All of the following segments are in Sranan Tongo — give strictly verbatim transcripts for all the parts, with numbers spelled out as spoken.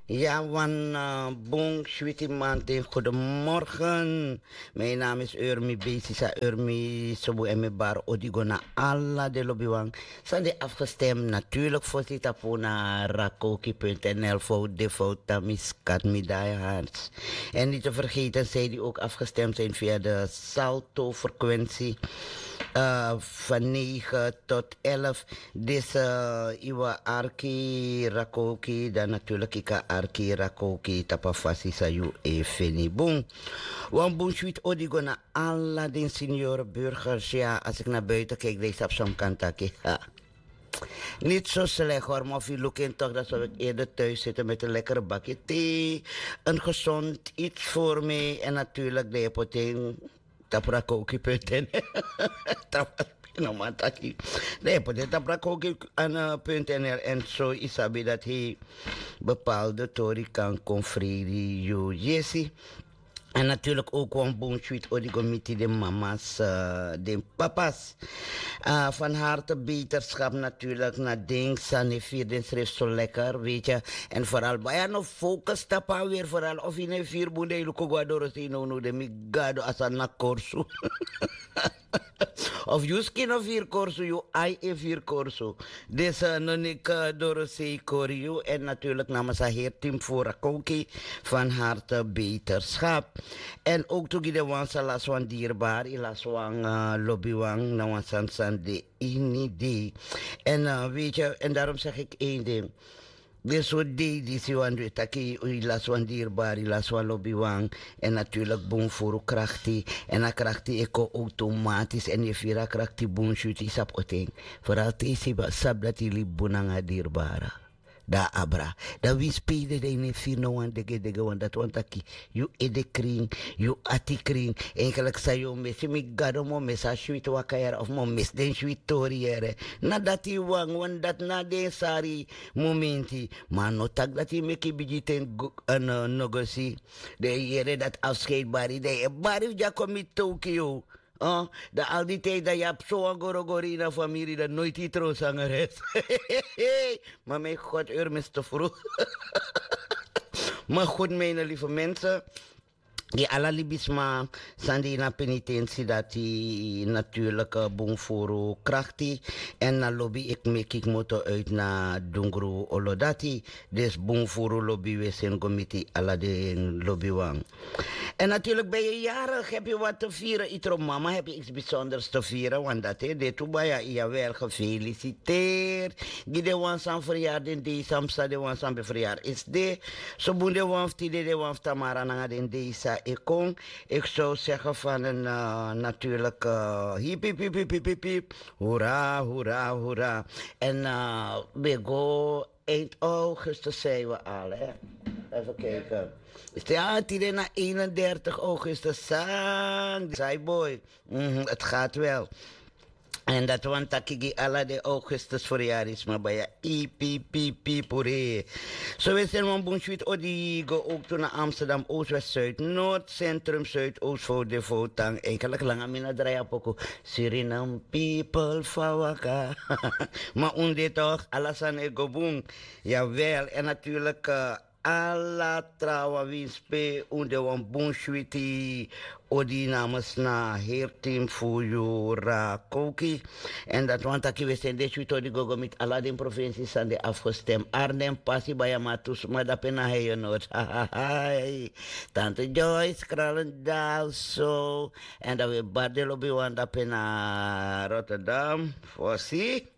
Ya wan, eh, bun switi manten. Goedemorgen. Mijn naam is Urmi Besisa Urmi Sobu en mi bar odigo na ala de lobiwan. San de afgestemd natuurlijk voor Sitapuna Rakoki punt N L voor de fout Tamiskat Midai Harts. En niet te vergeten zij die ook afgestemd zijn via de Salto frequentie, eh, van negen tot elf. Deze, eh, iwa arki rakoki, dan natuurlijk ika arki rakoki tapafasi sayu e feni bun. Wan bun swit odigo na ala den senior burgers. Ja, als ik naar buiten kijk, deze op zo'n kant taki. Ha. Niet zo slecht hoor, maar of je looking toch, dan zou ik eerder thuis zitten met een lekkere bakje thee. Een gezond iets voor mij en natuurlijk de hypotheek. Taprakoki punt N L. Tap-, no man taki. Nee, put taprakoki aan, eh, punt N L. En zo isabi dat hij bepaalde tori kan kon fredi yu yesi. En natuurlijk ook wan bun swit odigo miti de mama's, eh, de papa's. Eh, van harte beterschap natuurlijk na ding sani vier den schrift zo lekker, weet je. En vooral baya no focus tapa weer vooral of in een vier boende luku go door no no de mi gado asa na korsu. Of yu skin of hier korsu, yu ai e vir korsu. Deze, eh, non ik, eh, Dorosei Koriu. En natuurlijk namens a heer team voor Rakoki van harte beterschap. En ook to gi de wan sa las wan dierbaar, i las wan, eh, lobiwan, na wan san san de ini de. En, eh, weet je, en daarom zeg ik één ding. Den sortu dei disi wan du e taki, i lasi wan dierbari, i lasi wan lobiwan. En natuurlijk bun furu krakti. En a krakti e kon automatisch. En yu e firi a krakti bun switi, i sabi oten. Vooral te i sabi dati i libi bun nanga a dierbara. Dan a abra. Dan wi spede dan i no e firi no wan degedege wan. Dati wani taki yu edekrin, yu atikrin. Eigenlijk san yu o mesi, mi gado, mi o mesi a switi waka yere of mi o mesi den switi tori yere. Na dati wan, wan dati na den sari momenti. Ma a no taki dati i meki bigiten go-, eh, no, no go si. Den e yere dati afscheidbari, den e bari fu dya kon mi toki yu. Eh, dan al die tijd dan yu abi so wan gorogori ini a famiri, dan noiti i tron sangares. Ma mijn God, eur mi stofru. Maar goed, mijn lieve mensen, gi ala libisma san de ini a penitensi dati, natuurlijk, eh, bun furu krakti. En na lobi, ik meki kmoto uit na dungru olo dati. Dus bun furu lobi wi e seni go miti ala den lobiwan. En natuurlijk ben je jarig, heb je wat te vieren. Iedere mama heb je iets bijzonders te vieren, want dat, hè, de tu baya, jawel, gefeliciteerd. Gi den wan san verjaar den dei, san psa den wan san ben verjaar is de. So bun den wan fu tide, den wan fu tamara nanga den dei san e kon. Ik zou zeggen van een, eh, natuurlijk, eh, hip, hip, hip, hip, hip, hip, hip. Hoera, hoera, hoera. En, eh, we go eind augustus zijn we al, hè. Even kijken. Ja, tide na eenendertig augustus, sang, Saiboy. Mhm, het gaat wel. En dat wani taki gi ala den augustus verjaardagsma baya. Ipi, pi, pi, pure. So wi e seni wan bun switi odi go ook tu na Amsterdam Oost, West, Zuid, Noord, Centrum, Zuidoost, Fodefo, Tang. Eigenlijk langa mi no drai a poku. Suriname people fa waka. Ma un de toch, ala sani e go bun. Jawel, en natuurlijk, eh, ala trawan winsi pe un de wan bun switi odi namens na heel team fu Yura Koki. En dat wani taki wi e seni den switi odi go go miti ala den provinsi san de afgestem. Arnhem pasi baya, ma tu sma dape na Heijenoord. Tante Joyce Kralendal so. En dan wi e bari den lobiwan dape na Rotterdam. Fosi.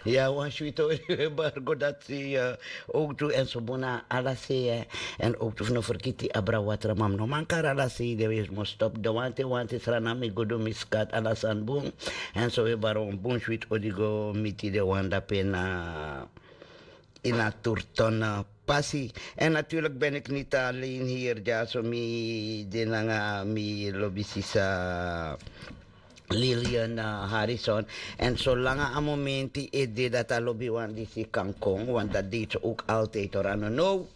Ya, wan switi odi wi e bari go dati, eh, ook tu en so bun na ala sei, eh. En ook tu fu no fergiti abra watra, ma mi no man kari ala sei, den wi e must stop. Den wanten, wanten, Sranan, mi gudu, mi skat, ala sani bun. En so wi e bari wan bun switi odi go miti den wan dape na ini a Turton, eh, pasi. En natuurlijk ben ik niet alleen hier, dyaso mi de nanga mi lobi sisa Lilian, eh, Harrison. En solanga a momenti e de dati a lobiwan disi kan kon, want dat deed ze ook altijd, hoor, a no now.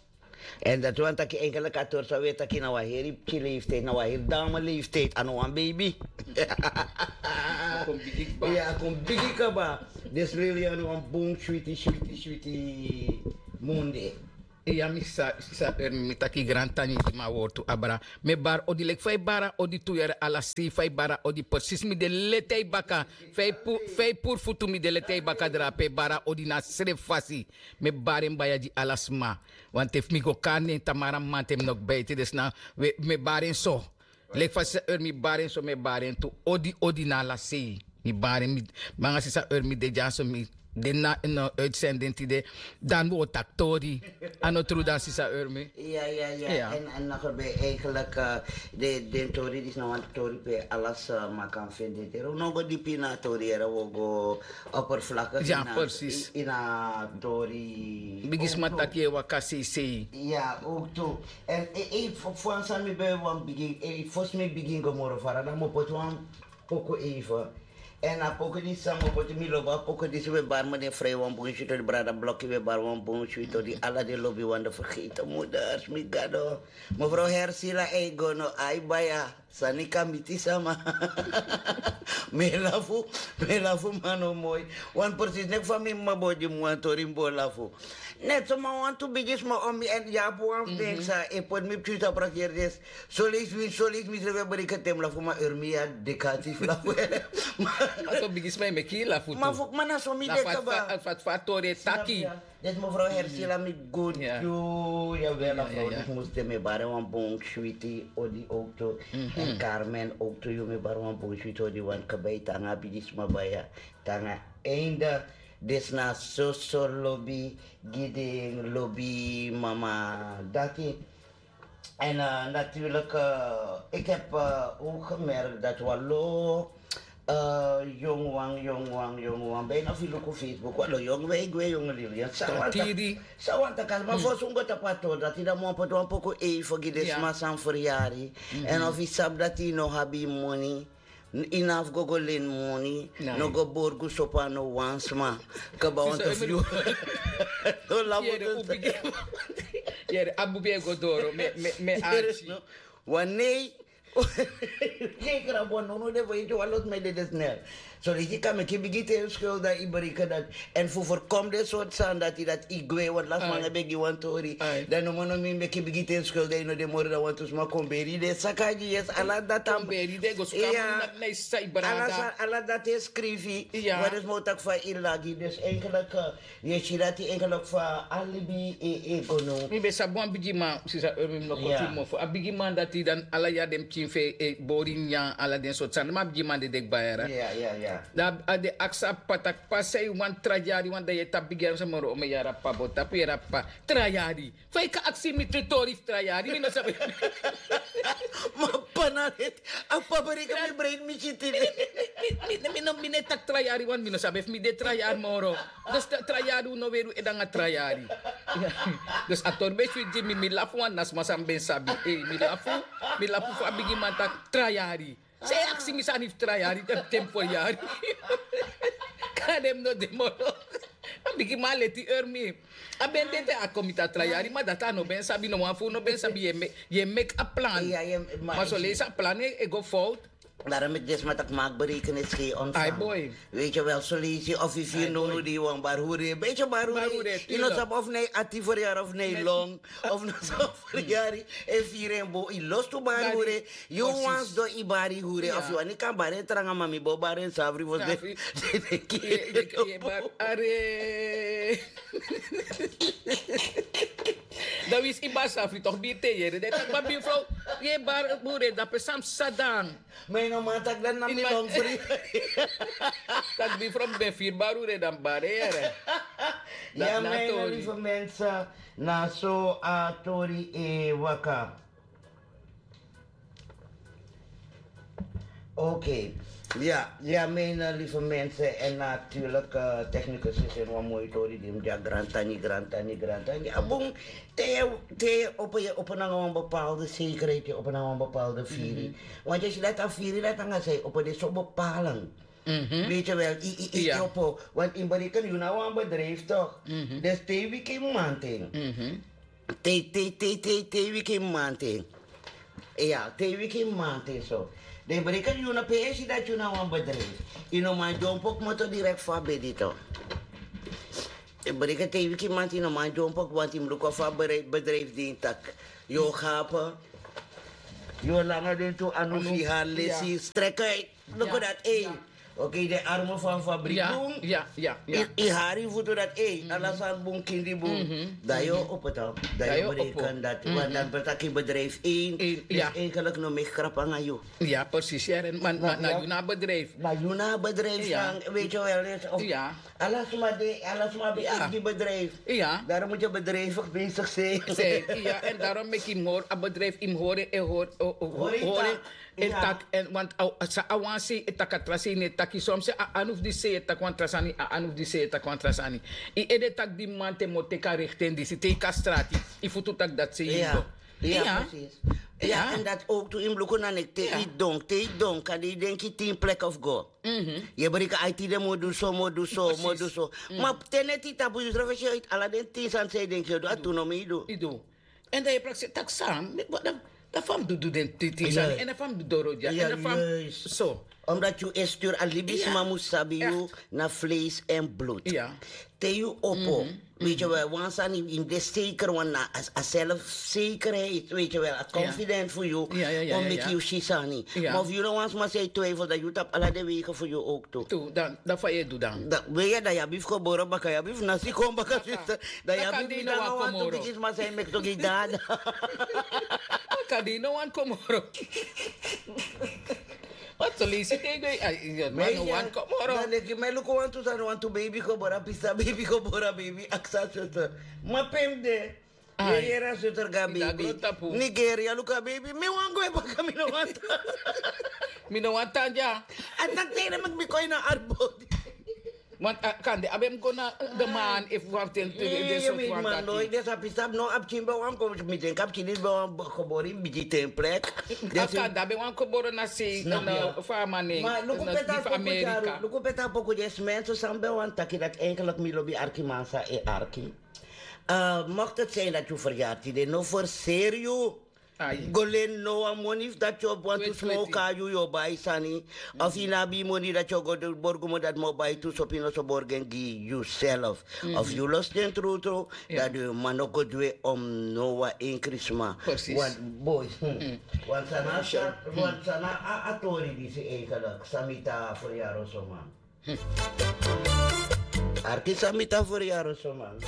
En dat wani taki eigenlijk a tori san wi e taki na wan heri pikin leeftijd, na wan heri dame leeftijd, a no wan baby. A kon bigi kaba. Ya, a kon bigi kaba. Dus Lilian, wan bun switi, switi, switi Munde. Iya, mi sa, sa, eh, mi taki grantangi di ma wortu abra. Mi e bari odi leki fa yu bari odi tu yere ala sei, fa yu bari odi precies mi de leti yu baka. Fa yu pu-, fa yu puru futu mi de leti yu baka drape, bari odi na srefi fasi. Mi e bari en baya gi ala sma. Want efu mi go kari nen tamara mamanten mi no kba ete, dus na, we, mi e bari en so. Leki fa sisa Urmi bari en so, mi e bari en tu. Odi, odi na ala sei. Mi bari en, mi, mi anga sisa Urmi de dyaso, mi de na, no, uitzending tide. Dan wi o taki tori. A no tru dan, sisa Urmi? Ya, ya, ya. En, en nog ben eigenlijk, eh, de, den tori disi na wan tori pe ala sma kan fende. Tero no go dipi na tori, era wi o go oppervlakkig. Ya, precies. In a tori. Bigisma taki e waka sei sei. Ya, ook tu. En, eh, eh, fu, fu wan san mi ben wan bigin, eh, fosi mi bigin go moro fara, dan mi o poti wan poku even. En a poku disi san mi o poti, mi lobi a poku disi, we bari mi den Frei wan bun switi odi, brada Blokki, we bari wan bun switi odi, ala den lobiwan, de vergeten moeders, mi Gado. Mevrouw Hersila, ei go no, ai baya. Sani kan miti sama. Mi e lafu, mi e lafu, ma no moi. Wan precies, neki fa mi mama bo gi mi wan tori, mi bo lafu. Net so ma wantu bigisma o mi en yapu wan fu den sa e poti mi pikin tapu a kerdes. Soleisi mi, soleisi mi srefi e breken te mi lafu, ma Urmi ya dekati fu lafu. Ma so bigisma e meki yu lafu tu. Ma fu, ma na so mi de kaba. Fa, fa, fa tori e taki. Dus mevrouw Hersila, mi go gi yu, ya wel, a vrouw disi mus de, mi e bari wan bun switi odi ook tu. En Carmen ook tu, yu mi e bari wan bun switi odi, wan kaba yu tanga bigisma baya, tanga einde. Dus na soso lobi gi den lobi mama dati. En, eh, natuurlijk, eh, ik heb, eh, ook gemerkt dat wan lo, eh, jong wan, jong wan, jong wan, bijna fu luku Facebook, wan lo jong wan, ik weet, jong lili. Sa wan taki, ma fosi un go tapu a tori dati, dan mi wani poti wan poku even gi den sma san verjari. En of yu sabi dati yu no abi yu moni, yu no abi fu go go leni moni, no go borgu sopo a no wan sma. Kaba wan te fu yu. No lafu. Yere, a bubi e go doro, mi, mi, mi arki. Wan nei. Geen grap, wan no, no, de fu yu, wan lo sma e dede snel. Soleisi yu kan meki bigi ten schuld, dan yu bereiken dat. En fu voorkom den sortu sani dati, dati yu gwe, want last man e begi wan tori. Dan no man no mi meki bigi ten schuld, dan yu no de moro, dan wantu sma kon beri den saka gi, yes, ala dati. Kon beri den, go suka moni na, na yu sisa, yu brada. Ala sa, ala dati e skrifi. Wan den sma o taki fa yu lagi. Dus eigenlijk, eh, yu e si dati eigenlijk fa a libi e, e go now. Mi ben sabi wan bigiman, sisa, eh, mi no kon tu mofo. A bigiman dati, dan ala yari den pikin fu en e bori nyan, ala den sortu sani. Ma a bigiman dede kba yara. Ya, ya, ya. Dan a de aksi a p'pa taki: p'pa, san yu wani? Tra yari wan, dan yu e tapu bigi yari, san moro, omen yari a p'pa bo tapu, yere a p'pa: tra yari. Fa yu kan aksi mi tu tori fu tra yari, mi no sabi. Ma p'pa na leti, a p'pa bereiken mi brein, mi si tide. Mi, mi, mi, mi no, mi no e taki tra yari, want mi no sabi efu mi de tra yari moro. Dus tra, tra yari, un no weri un ede nanga tra yari. Dus a tori ben switi gi mi, mi lafu, want na sma san mi ben sabi. Ei, mi lafu, mi lafu fu a bigiman taki tra yari. San yu e aksi mi sani fu tra yari, te mi, te mi fo yari. Kande mi no de moro. A bigiman leti, Urmi. A ben de te a kon miti a tra yari, ma dati a no ben sabi, no wan fu un no ben sabi, yu e me-, yu e meki a plan. Ma soleisi a plan e, e go fout. Daarom meki den sma taki: maak berekenis, geen ontvangen. Ai boy. Weet je wel, soleisi of yu firi nownow dei wan bari hure. Beetje bari hure. Yu no sabi of na yu ati verjari of na yu long. Of na so verjari e firi en bo, yu lostu bari hure. Yu wani sidon yu bari hure. Of yu wani kan bari en tranga, ma mi bo bari en safri fosi den, den, den kiri. Yu e bari, are. Dan winsi yu bari safri toch, biri te yere. Den taki: ma buurvrouw, yu e bari hure, dape san mi sabi dan. Ma yu no man taki dati na mi long fri. Taki: buurvrouw, mi ben firi bari hure, dan mi bari en yere. Ya, mijn lieve mensen, na so a tori e waka. Oké. Ya, ya, mijn, eh, lieve mensen, en natuurlijk, eh, technicus is in wan moi tori di mi dya, grantangi, grantangi, grantangi. A bun, te, te opo, yu opo nanga wan bepaalde zekerheid, yu opo nanga wan bepaalde firi. Want yu si dati a firi dati nanga san yu opo de so bepalen. Weet je wel, i, i, i, i opo. Want yu bereken yu na wan bedrijf toch? Dus te yu wiki mamanten. Te, te, te, te, te yu wiki mamanten. Ya, te yu wiki mamanten so. Dan yu bereken yu na, pe yu e si dati yu na wan bedrijf. Yu no man dyompo kmoto direct fu a bedi toch. Breken te yu kimanti no man dyompo wanti mi luku fa bedrijf din tak. Yu o gapen. Yu o langa den tu anu fi har lesi strek uit. Luku dat ei. Oké, de arme van fabriek bun. I hari futu dat ei ala sani bun kindi bun. Dan yu o opo dan dan yu o breken dat. Want dan betaki bedrijf één is eigenlijk no meki krap anga yu. Ja, precies. Ja, maar na, na, na bedrijf. Maar na bedrijf, ja. Weet je wel, is of ja. Ala sma de, ala sma be ja. Eigen bedrijf. Ja. Daarom moet je bedrijvig bezig zijn. Zijn, ja, en daarom maak je more a bedrijf in hore en hore. Hore tak en want sa awansi e tak a trasini e taki soms a anuf di se e tak wan trasani a anuf di se e tak wan trasani. I ede tak di man te mo teka richting di si teka strati. I futu tak dat se. Ja. Ja, precies. Ja, en dat ook tu in bloeken aan ik te i donk te i donk kan die denk je tien plek of go. Ye brika aiti de moduso moduso moduso. Ma teneti tapu yusra fesi uit ala den tin san sei denk je do atu no mi do. I do. En dan ye praksi tak san. Dan fam du du den tin san en dan fam du doro dia en dan fam. So. Omdat yu e stuur a libisma mus sabi yu na vlees en bloed. Te yu opo. Weet je wel, wan sani in de zeker wan na a zelfzekerheid, weet je wel, a confident voor you. Om met you shisani. Maar of you no wan sma zei twijfel dat you tap ala de wegen voor you ook toe. Dan dan fa ye du dan. We ya dan yabi fu gebore baka yabi fu nasi kon baka sister. Dan yabi mi na wan tu bikis ma zei mek toki dada. Kadi no wan komoro. Wat so lisi te go. Man no wan komoro. Dan leki men luku wan tu sani wan tu baby gebore pisa baby gebore baby aksa suster. Ma pem de. Yeyera suster gabi. Nigeria luka baby mi wan go e baka mi no wan tan. Mi no wan tan dia. A tak tene mek mi kon ina arbodi. Want kande a ben go na de man efu wan ten tu de so wan dati. Desa pisap no a pikin ben wan kon mi den ka pikin ben wan gebore in bigi ten plek. Afta da ben wan gebore na sei na fa a man nen. Luku peta poku dyaru luku peta poku dyesi mense san ben wan taki dati enkelik mi lobi arki man san e arki. Mocht het zijn dat yu veryaarti de no verseer yu. Go leni no wan moni fu dati yu o wantu smoka yu yu o bai sani. Of yu no abi yu moni dati yu o go borgu moni dati mi o bai tu sopi no so borgen gi yu self. Of yu losi den trutru dati yu man no go dwe om no wan enkri sma. Wan boi. Wan sana a tori disi enkelik san mi ta a fori yaro so man. Arki san mi ta fori yaro so man.